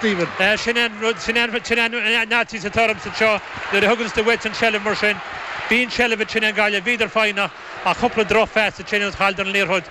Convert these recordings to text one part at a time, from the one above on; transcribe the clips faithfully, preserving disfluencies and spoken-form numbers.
Stephen. Sin an rud, sin an sin an fhaitíos atá ormsa anseo nuair a thuganns tú uait an tseilbh mar sin. Bíonn seilbh ansin ag Gaillimh, bhíodar foighneach ach cúpla drochphas ansin agus chailleadar an liathróid.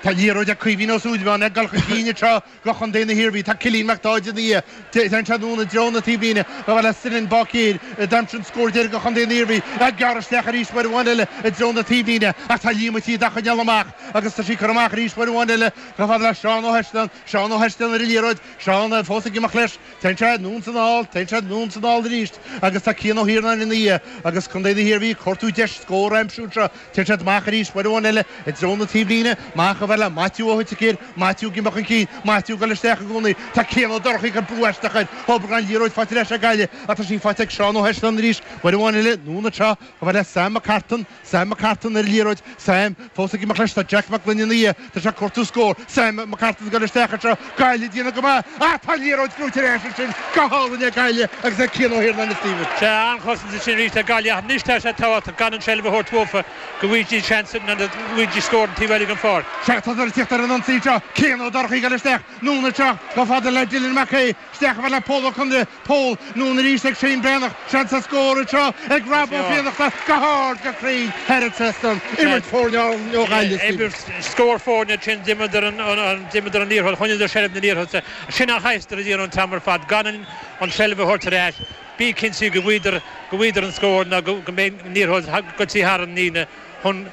Tá liathróid ag Caoimhín Ó Súilleabháin ag dul chun cinn anseo go chontae na hIarmhí. Tá Cillian Mac Dáid ina dhiaidh. Téann sé anonn i dtreo na taobhlíne. Chomh fada le Senan Báicéir a d'aimsigh an scór deiridh go chontae na hIarmhí. Ag gearradh isteach arís uair amháin eile i dtreo na taobhlíne ach tá Liam Ó Tíodh á choinneáil amach agus tá sí curtha amach arís uair amháin eile chomh fada le Seán Ó hEistean. Seán Ó hEistean ar an liathróid. Seán fós ag imeacht leis. Téann sé anonn is anall, téann sé anonn is anall arís agus tá Cian Ó hIarnáin ina dhiaidh agus contae na hIarmhí ag cuartú deis scór a aimsiú anseo. Téann siad amach arís uair amháin eile i dtreo na taobhlíne. Amach chomh fada le Maitiú Ó hUiticéir. Maitiú ag imeacht chun cinn. Maitiú ag dul isteach i gcónaí. Tá Cian Ó Dorchaí ag cur brú aisteach air. Obair gan liathróid faighte ar ais ag Gaillimh ach tá sí faighte ag Seán Ó hEistean arís uair amháin eile. Anonn anseo chomh fada le Sam McCartan. Sam McCartan ar an liathróid. Sam fós ag imeacht leis. Tá Jack Mac Gloinn ina dhiaidh. Tá sé ag cuartú scór. Sam McCartan ag dul isteach anseo. Gaillimh ag déanamh go maith. Ach tá an liathróid gnóite ar ais ansin go hálainn ag Gaillimh agus ag Cian Ó hIarnáin a Stephen. Sea, an-chosaint ansin arís ag Gaillimh ach anois tá sé tábhachtach gan an tseilbh a thabhairt uafa go bhfaighidís seans nó go bhfaighidís scór an taobh eile den pháirc. Sea, tá siad ag tíocht ar an ionsaí anseo. Cian Ó Dorchaí ag dul isteach. Anonn anseo chomh fada le Dylan Mac Aodha. Isteach chomh fada le Pól Ó Conaire. Pól, anonn arís ag Shane Breathnach. Seans ar scór anseo ag Rob Ó Fiannachta. Go hard, go cruinn thar an trasnán. Imirt foirne ó Ghaillimh, Stephen. Imirt scór foirne ansin. D'imríodar an, d'imríodar an liathróid, choinníodar seilbh na liathróide. Sin a chaithfeadar a dhéanamh an t-am ar fad, gan an tseilbh a thabhairt ar ais. Bí cinnte go bhfaigheadar, go bhfaigheadar an scór nó go mbeidh an liathróid goitse thar an líne chun,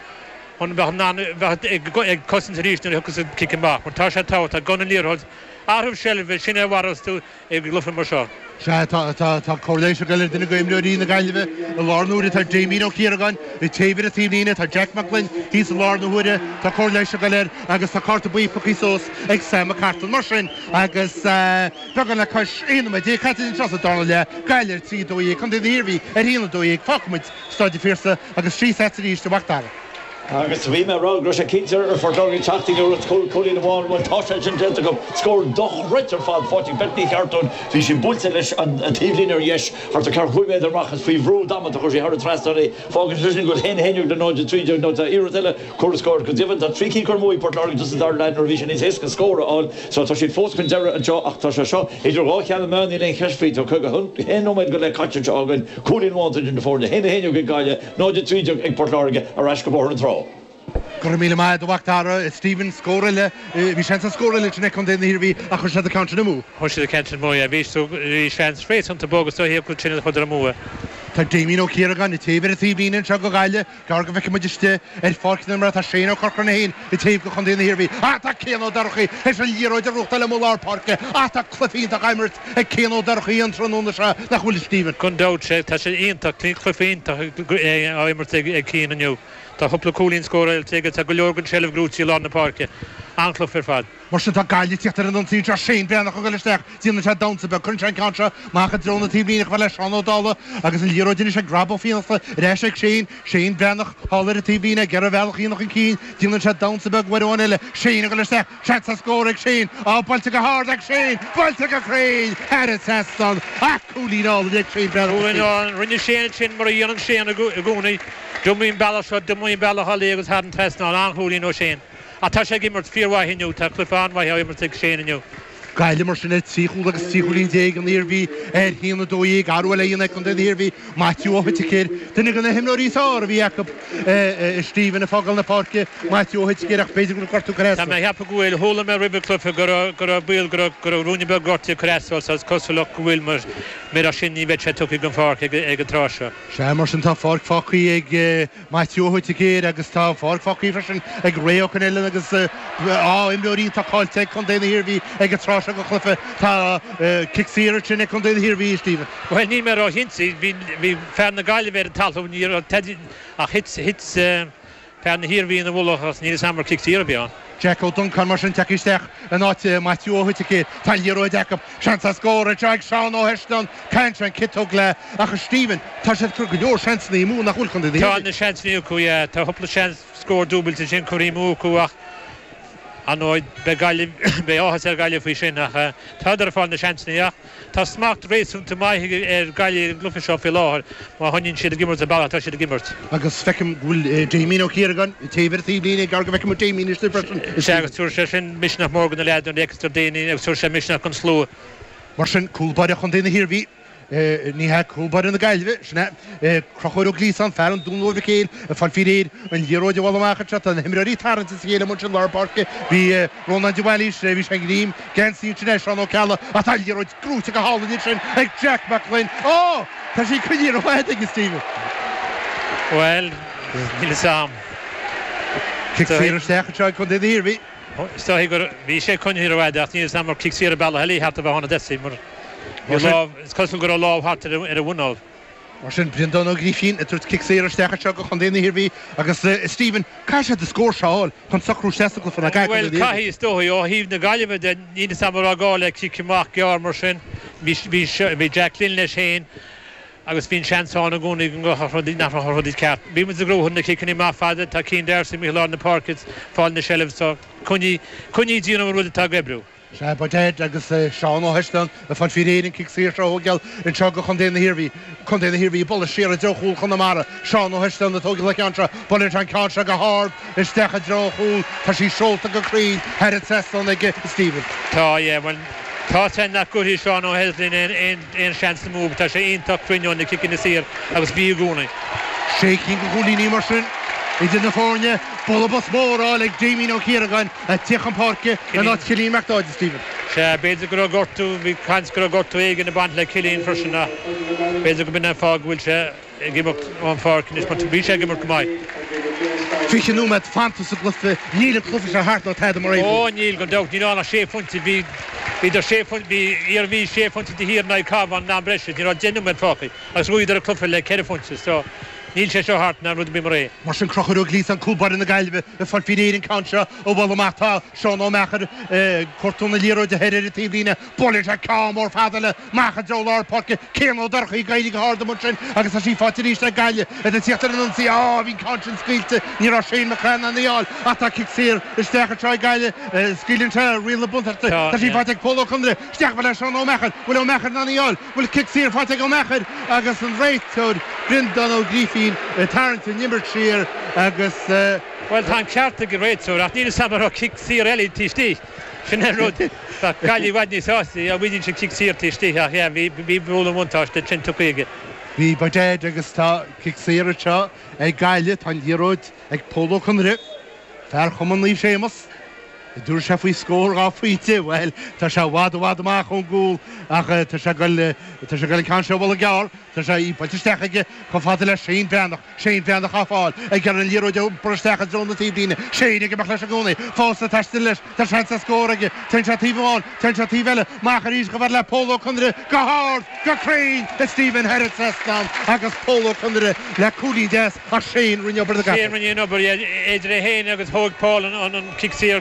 chun bheith in ann bheith ag cosaint arís nuair a thiocfas an cic amach. Mar tá sé tábhachtach gan an liathróid, athrú seilbhe, sin é a mharós tú i gcluiche mar seo. Sea, tá, tá, tá cóir leighis ag dul ar duine d'imreoirí na Gaillimhe i lár na huaire. Tá Damien Ó Ciaragáin ag taobh ar an taobhlíne, tá Jack Mac Gloinn thíos i lár na huaire, tá cóir leighis ag dul air agus tá cárta buí pioctha suas ag Sam McCartan. Mar sin, agus beagán le cois aon nóiméad déag caite anseo sa darna leath, Gaillimh ar trí a dó dhéag, Contae na hIarmhí ar a haon a dó dhéag, fágfaidh muid Staid an Phiarsaigh agus síos agat arís a Mhac Dara. Agus bhí mé ag rá go raibh sé cinnte ar Phort Láirge teacht i ngiorracht chúl cúilín amháin. Bhuel, tá sé sin déanta acu. Scór dochreidte ar fad faighte ag Beth Ní Cheartúin. Bhí sí buailte leis an taobhlíne ar dheis, thart ar ceathracha cúig méadar amach is faoi bhrú damanta chuir sí thar an trasnán í. Fágann sé sin go bhfuil a haon a haon déag le náid a trí déag nó tá iarracht eile curtha scór. Go deimhin tá trí cinn curtha amú ag Port Láirge sa dara leath nuair a bhí sé níos éasca scór a fháil. So tá siad fós chun deiridh anseo ach tá sé seo idir dhá cheann na meá, níl aon cheist faoi. Tá caoga a haon nóiméad go leith caite anseo againn. Cúilín amháin idir na foirne. A haon a haon déag ag Gaillimh. náid a trí déag ag Port Láirge ar ais go Bóthar na Trá. Go raibh míle maith agat a Mhac Dara. Stephen, scór eile, bhí seans ar scór eile ansin ag Contae na hIarmhí ach chuir siad an ceann sin amú. Chuir siad an ceann sin amú, yeah. Bhí bhí seans réasúnta bog is dóichí acu ansin a chuireadar amú é. Tá Damien Ó Ciaragáin ag taobh ar an taobhlíne anseo go Gaillimh. Gar go bhfeicfidh muid istigh ar pháirc na himeartha tá Shane Ó Corcora féin ag taobh go Chontae na hIarmhí. Ach tá Cian Ó Dorchaí théis an liathróid a ghnóthachtáil amuigh i lár páirce. Ach tá cluiche iontach á imirt ag Cian Ó Dorchaí an tráthnóna seo, nach bhfuil a Stephen? Gan dabht, sé, tá sé iontach, cluiche iontach á imirt ag Cian inniu. Tá cúpla cúilín scóráilte aige, tá go leor den tseilbh gnóite i lár na páirce. An-chluiche ar fad. Mar sin tá Gaillimh ag tíocht ar an ionsaí anseo, Shane Breathnach ag dul isteach, déanann sé damhsa beag, cuireann sé an ceann seo amach i dtreo na taobhlíne chomh fada le Seán Ó Dálaigh agus an liathróid anois ag Rob Ó Fiannachta, ar ais ag Shane, Shane Breathnach thall ar an taobhlíne ag iarraidh a bhealach a dhéanamh chun cinn, déanann sé damhsa beag uair amháin eile, Shane ag dul isteach, Seans ar scór ag Shane. Á, buailte go hard ag Shane! Buailte go cruinn thar an trasnán! Ach cúilín álainn ag Shane Breathnach. Cúilín álainn. Rinne Shane ansin mar a dhéanann Shane i gcónaí. D'iomaigh an bealach seo, d'iomaigh an bealach eile agus thar an trasnán. An-chúilín ó Shane. Ach tá sé ag imirt fíormhaith inniu. Tá cluiche an-mhaith á imirt ag Shane inniu. Gaillimh mar sin ar trí chúl agus trí chúilín déag, an Iarmhí ar haon a dó dhéag. Athrú eile a dhéanamh ag contae na hIarmhí, Maitiú Ó hOiticéir, duine de na himreoirí is fearr a bhí acu, Stephen ag fágáil na páirce, Maitiú Ó hOiticéir ach b'fhéidir go bhfuil gortú curtha as Tá dó. mé ag ceapadh go bhfuil. Chuala mé roimh an cluiche go raibh go raibh baol go raibh go raibh ruainne beag gortaithe curtha as dó so is cosúlacht go bhfuil mar murach sin ní bheadh sé tugtha den pháirc ag ag an tráth seo. Sea, mar sin tá páirc fágtha ag Maitiú Ó hOiticéir agus tá páirc fágtha freisin ag Ray Ó Coinnealláin agus á imreoirí atá caillte ag contae na hIarmhí ag an tráth seo den chluiche. Tá cic saor ansin ag contae na hIarmhí, a Stephen. Bhuel, níl mé róchinnte. Bhí bhí fear na Gaillimhe ar an talamh, ní raibh teidil ach thit thit fear na hIarmhí ina mhullach agus níl 'fhios a'm ar cic saor a bhí ann. Jack Ó Donnchadha mar sin tagtha isteach in áit Maitiú Ó hOiticéir. Tá an liathróid acu. Seans ar scór anseo ag Seán Ó hEistean. Caitheann sé an ciotóg léi. Ach a Stephen, tá siad ag cur go leor seansanna amú nach bhfuil contae na Tá hIarmhí? na seansanna acu, yeah. Tá cúpla seans scór dúbailte ansin curtha amú acu ach ar ndóigh beidh Gaillimh, beidh áthas ar Ghaillimh faoi sin ach tádar ag fáil na seansanna ach tá smacht réasúnta maith ar Ghaillimh ar an gcluiche seo faoi láthair má choinníonn siad ag imirt an bealach atá siad ag imirt. Agus feicim go bhfuil Damien Ó Ciaragáin ag taobh ar an taobhlíne, gar go bhfeicfidh muid Damien istigh freisin. Sea agus tabharfaidh sé sin misneach mór do na leaids nuair a fheiceas daoine agus tabharfaidh sé misneach don slua. Mar sin cúl báire Chontae na hIarmhí. Ní hea cúl báire na Gaillimhe, sin é Conchúr Ó Gliasáin, fear an Dún Mhóir Mhic Éil, ag fáil faoi réir an liathróid a bhualadh amach anseo. Tá na himreoirí tarraingthe as a chéile amuigh ansin lár páirce. Bhí Rónán de Bhailís, bhí sé ag greim geansaí ansin ar Seán Ó Ceallaigh ach tá an liathróid gnóite go hálainn ansin ag Jack Mac Gloinn. Ó! Tá sí coinnithe rófhada aige Stephen. Bhuel, níl fhios a'm. Cic saor isteach anseo ag Contae na hIarmhí. Is dóigh gur bhí sé coinnithe rófhada ach níl fhios a'm ar cic saor an bealach eile thart a bheith ann a Dessie mar bhí lámh, is cosúil go raibh lámh thart ar a mhuineál. Mar sin, Breandán Ó Grífín ag tabhairt cic saor isteach anseo go Chontae na hIarmhí agus Stephen, caithfidh siad an scór seo a fháil chun socrú isteach sa gcluiche ná Gaillimh. Bhuel, caithfidh, is dóigh. Ó thaobh na Gaillimhe de, níl fhios a'm an raibh gá le cic amach gearr mar sin. Bhí, bhí, bhí Jack Glynn leis féin agus bhí an seans ann i gcónaí go ngabhfadh rudaí, nach raibh rudaí ceart. Bhí muid ag gnóthú na ciceanna amach fada, tá Cian D'Arcy amuigh i lár na páirce ag fáil na seilbh so coinnigh, coinnigh ag déanamh an rud atá ag oibriú. Sea, by dad agus Seán Ó hEisteáin ag fáil faoi réir an cic saor seo a thógáil anseo go Chontae na hIarmhí. Contae na hIarmhí ag bualadh siar i dtreo chúl Chonamara. Seán Ó hEisteáin ag tógáil an ceann seo. Buaileann sé an ceann seo go hard isteach i dtreo an chúil. Tá sí seolta go cruinn thar an trasnán ag Stephen. Tá, yeah, bhuel, tá sé nach gcuirfidh Seán Ó hEislin aon aon seans amú. Tá sé iontach cruinn ó na ciceanna saor agus bhí i gcónaí. Sé cinn de chúilíní mar sin idir na foirne. Bualadh bos mór á fháil ag Damien Ó Ciaragáin ag tíocht chun páirce in áit Chillian Mac Dáid, Stephen. Sea, b'fhéidir go raibh gortú, bhí caint go raibh gortú éigin ag baint le Cillian freisin ach b'fhéidir go b'in an fáth go bhfuil sé ag imeacht ón pháirc anois mar bhí sé ag imirt go maith. Fiche nóiméad fanta sa gcluiche, níl an cluiche seo thart ná tada mar aon. Ó níl, gan dabht, níl ann ach sé phointe, bhí, bhíodar sé phointe, bhí Iarmhí sé phointe de thiar in aghaidh Cabhán in am breise, ní raibh deich nóiméad fágtha agus bhuadar an cluiche le ceithre phointe so níl sé seo thart ná rud ar bith mar é. Mar sin Conchúr Ó Gliasáin, cúl báire na Gaillimhe, ag fáil faoi réir an ceann seo a bhualadh amach. Tá Seán Ó Meachair ag cuartú na liathróide thoir ar an taobhlíne. Buaileann sé ceann mór fada eile amach i dtreo lár páirce. Cian Ó Dorchaí ag éirí go hard amuigh ansin agus tá sí faighte arís ag Gaillimh. Iad ag tíocht ar an ionsaí. Á, bhí an ceann sin scaoilte. Ní raibh Shane McCrann in ann í a fháil ach tá cic saor isteach anseo ag Gaillimh. Scaoileann sé riail na buntáiste. Tá sí faighte ag Pól Ó Conaire. Isteach le Seán Ó Meachair. Bhfuil Ó Meachair in ann í a fháil? Bhfuil cic saor faighte ag Ó Meachair agus an réiteoir Breandán Ó Grífín ag tarraingt an imirt siar agus. Bhuel, tá an ceart ag an réiteoir ach níl fhios a'm an raibh cic saor eile taobh istigh. Sin an rud. Bheadh Gaillimh i bhfad níos sásta dá bhfaighidís an cic saor taobh istigh ach yeah, bhí bhí bualadh an bhuntáiste sin tugtha aige. Bhí by dad agus tá cic saor anseo ag Gaillimh. Tá an liathróid ag Pól Ó Conaire, fear Chumann Naomh Séamus. Dúirt sé faoi scór dhá phointe, bhuel, tá sé i bhfad i bhfad amach ón gcúl ach tá sé ag dul, tá sé ag dul an ceann seo a bhualadh gearr, tá sé í buailte isteach aige chomh fada le Shane Breathnach, Shane Breathnach á fáil ag iarraidh an liathróid a iompar isteach i dtreo na taobhlíne, Shane ag imeacht leis i gcónaí, fós ag taisteal leis, tá seans ar scór aige, téann sé taobh amháin, téann sé taobh eile, amach arís chomh fada le Pól Ó Conaire, go hard, go cruinn, a Stephen thar an trasnán agus Pól Ó Conaire le cúilín deas. Ach Shane rinne obair na gcapall. Shane rinne an obair, idir é féin agus thóg Paul an cic saor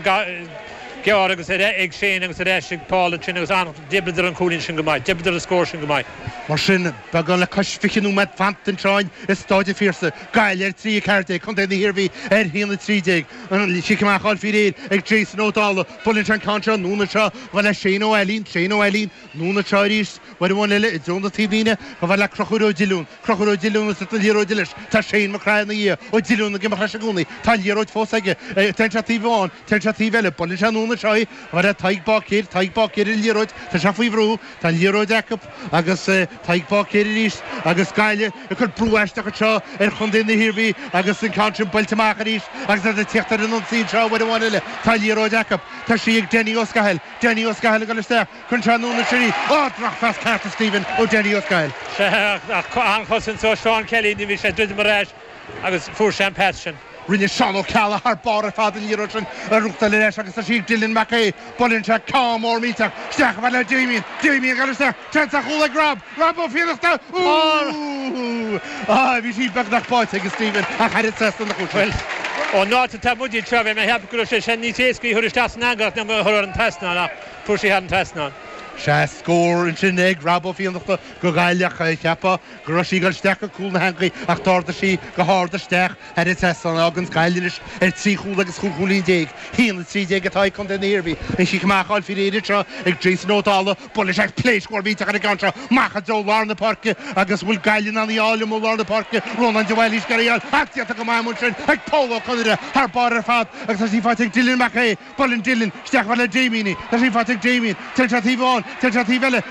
gearr agus ag Shane agus ar ais ag Paul ansin agus d'oibríodar an cúilín sin go maith, d'oibríodar an scór sin go maith. Mar sin, beagán le cois fiche nóiméad fanta anseo i Stáid an Phiarsaigh, Gaillimh ar trí a ceathair déag, Contae na hIarmhí ar haon a trí déag. An cic amach á fháil faoi réir ag Jason Ó Dálaigh. Buaileann sé an ceann seo anonn anseo chomh fada le Shane Ó Ailín, Shane Ó Ailín, anonn anseo arís, uair amháin eile i dtreo na taobhlíne chomh fada le Conchúr Ó Diolúin. Conchúr Ó Diolúin ag tabhairt na liathróide leis. Tá Shane McCraith ina dhiaidh. Ó Diolúin ag imeacht leis i gcónaí. Tá an liathróid fós aige. Téann sé taobh amháin. Téann sé taobh eile. Buaileann sé anonn anseo í. Chomh fada le Tadhg Báicéir. Tadhg Báicéir ar an liathróid. Tá sé faoi bhrú. Tá an liathróid acu agus Tadhg Báicéir arís agus Gaillimh ag cur brú aisteach anseo ar chontae na hIarmhí agus an ceann sin buailte amach arís agus iad ag tíocht ar an ionsaí anseo uair amháin eile. Tá an liathróid acu. Tá sí ag Danny Ó Scathail. Danny Ó Scathail ag dul isteach. Cuireann sé anonn ansin í. Á, drochphas ceart a Stephen ó Danny Ó Scathail. Sea, ach an-chosaint ó Seán Kelly, ní bhí sé druidim ar ais agus fuair sé an pas sin. Rinne Seán Ó Ceallaigh thar barr ar fad an liathróid sin a ghnóthachtáil ar ais agus tá sí ag Dylan Mac Aodha. Buaileann sé ceann mór millteach isteach chomh fada le Damien. Damien ag dul isteach. Seans ar chúl ag Rob. Rob Ó Fiannachta. Úúúú! Á, bhí sí beagnach báite ag Stephen ach thar an trasnán a chuaigh sí. Bhuel, ón áit atá muid anseo, bhí mé ag ceapadh go raibh sé sin níos éasca í a chur isteach san eangach ná a chur thar an trasnán ach fuair sí thar an trasnán. Sea, scór ansin ag Rob Ó Fiannachta do Ghaillimh ach cheapfá go raibh sí ag dul isteach go cúl na heangaí ach d'ardaigh sí go hard isteach thar an trasnán. Fágann Gaillimh anois ar trí chúl agus chúig chúilín déag. Haon a trí déag atá ag contae na hIarmhí. An chic amach á fháil faoi réir anseo ag Jason Ó Dálaigh. Buaileann sé pléasc mhór mhillteach ar an gceann seo amach i dtreo lár na páirce agus bhfuil Gaillimh in ann í a fháil amuigh i lár na páirce. Rónán de Bhailís ag iarraidh í a fháil ach déanta go maith amuigh ansin ag Pól Ó Conaire thar barr ar fad agus tá sí faighte ag Dylan Mac Aodha. Buaileann Dylan isteach chomh fada le Damien í. Tá sí faighte ag Damien. Téann sé taobh amháin, Téann sé taobh eile.